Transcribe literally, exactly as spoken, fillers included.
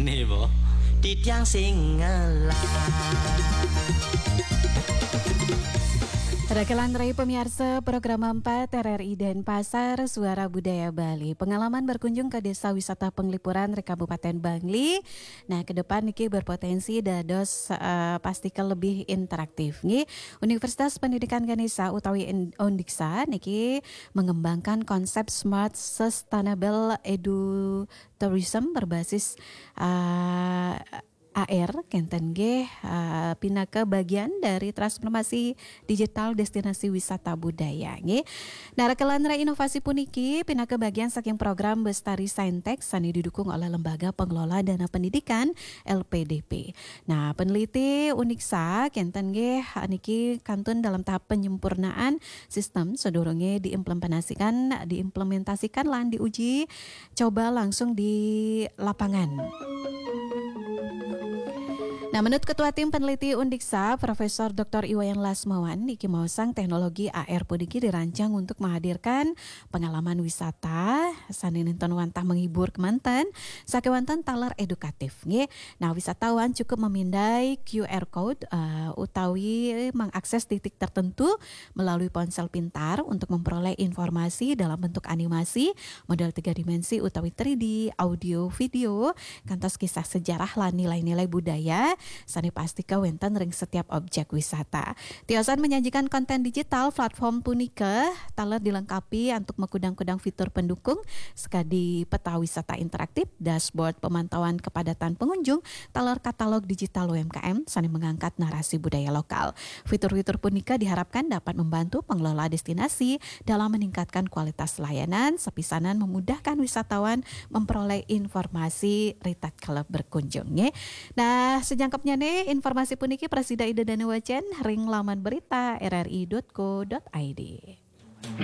Nih, Bo. Titiang sing ngelah. Rekelan rai pemiarsa program empat R R I Denpasar, Suara Budaya Bali. Pengalaman berkunjung ke desa wisata penglipuran di Kabupaten Bangli. Nah, ke depan niki berpotensi dados, eh, pastika lebih interaktif nggih. Universitas Pendidikan Ganesha utawi In- Undiksa niki mengembangkan konsep Smart Sustainable Edu Tourism berbasis, eh, A R kenten nggih, eh, pinaka bagian dari transformasi digital destinasi wisata budaya nggih. Nah, rekelan rai inovasi puniki pinaka bagian saking program Bestari Saintek sane didukung oleh Lembaga Pengelola Dana Pendidikan, L P D P. Nah, peneliti Uniksa kenten nggih niki kantun dalam tahap penyempurnaan sistem sedurunge diimplementasikan diimplementasikan lan diuji coba langsung di lapangan. Nah, menurut Ketua Tim Peneliti Undiksa, Profesor Doktor Iwayan Lasmawan, niki maosang teknologi A R puniki dirancang untuk menghadirkan pengalaman wisata sane nenten wantah menghibur kemanten, sakewanten taler edukatif, nggih. Nah, wisatawan cukup memindai Q R code, eh, utawi mengakses titik tertentu melalui ponsel pintar untuk memperoleh informasi dalam bentuk animasi, model tiga dimensi utawi three D, audio, video, kantos kisah sejarah lan nilai-nilai budaya sane pastika wenten ring setiap objek wisata. Tiosan menyajikan konten digital, platform punika taler dilengkapi antuk makudang-kudang fitur pendukung, sekadi peta wisata interaktif, dashboard pemantauan kepadatan pengunjung, taler katalog digital U M K M sane mengangkat narasi budaya lokal. Fitur-fitur punika diharapkan dapat membantu pengelola destinasi dalam meningkatkan kualitas layanan, sapisanan memudahkan wisatawan memperoleh informasi ri tatkala berkunjung, nggih. Nah, sajangkepnyane informasi puniki prasida Ida Dane Wacan ring laman berita R R I dot co dot I D.